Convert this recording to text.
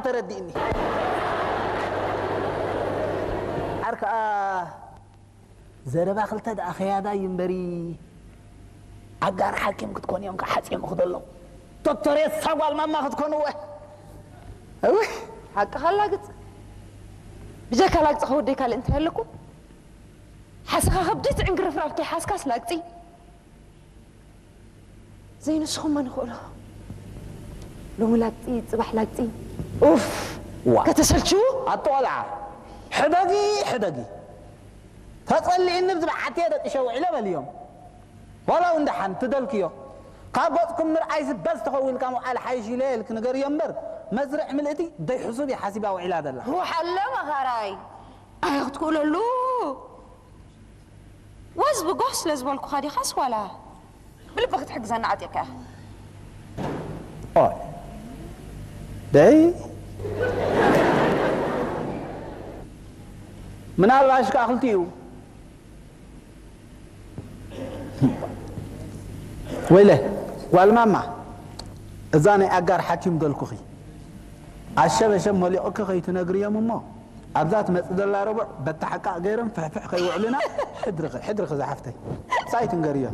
ተረዲእኒ። ኣር ከኣ ዘረባ ክልተ ደኣ ከያዳ እዩ እምበሪ፣ ኣጋር ሓኪም ክትኮኑ እዮም ከሓጽዮም ክደሎ። ዶክተር የሳ ጓል ማማ ክትኮኑ እወ። እውይ። ሓቅኻ ኣላግጽ። ብጀካ ላግጺ ከወደይ ካልእ እንታይ ኣለኩም? ሓሰኻ ከብዲ ትዕንግርፍራፍ ከይሓዝካስ ላግጺ። ዘይንስኹም መን ይኽእሎ? ሎሚ ላግጺ፣ ጽባሕ ላግጺ። ኡፍ! ዋ። ከተሰልችዉ? ኣቶ ቆልዓ፣ ሕደጊ፣ ሕደጊ። ተጸሊእኒ ብዝበዓትየ ደቂሸ ውዒለ በልዮም። ዋላ እውን ደሓን ትደልክዮ። ካብ ገጽኩም ምርኣይ ዝበዝ ተኸዊልካ ምውዓል ሓይሽ ኢለ ኢልክ ንገርዮ እምበር፣ መስርዕ ምልእቲ ደይ ሕሱብ እየ ሓሲባ ውዒላ ዘላ። ውሓለ መኻራይ። ኣይ ክትክእለሉ። ወዝ ብጎህ ስለ ዝበልኩኻ ዲኻስ ዋላ ብልቢ ክትሕግዘና ዓጢቕካ ኢኻ? ኦይ፣ ደይ፣ ምናልባሽ ከኣ ክልቲኡ። ወይለ፣ ጓል ማማ፣ እዛ ናይ ኣጋር ሓኪም ደልኩኺ ኣሸበሸብ መሊቑኪ ከይትነግርዮም እሞ፣ ኣብዛ ትመጽእ ዘላ ረቡዕ በታ ሓቃቕ ገይሮም ፍሕፍሕ ከይውዕሉና። ሕድርኺ፣ ሕድርኺ ዝሓፍተይ። ሳይ ትንገርዮ።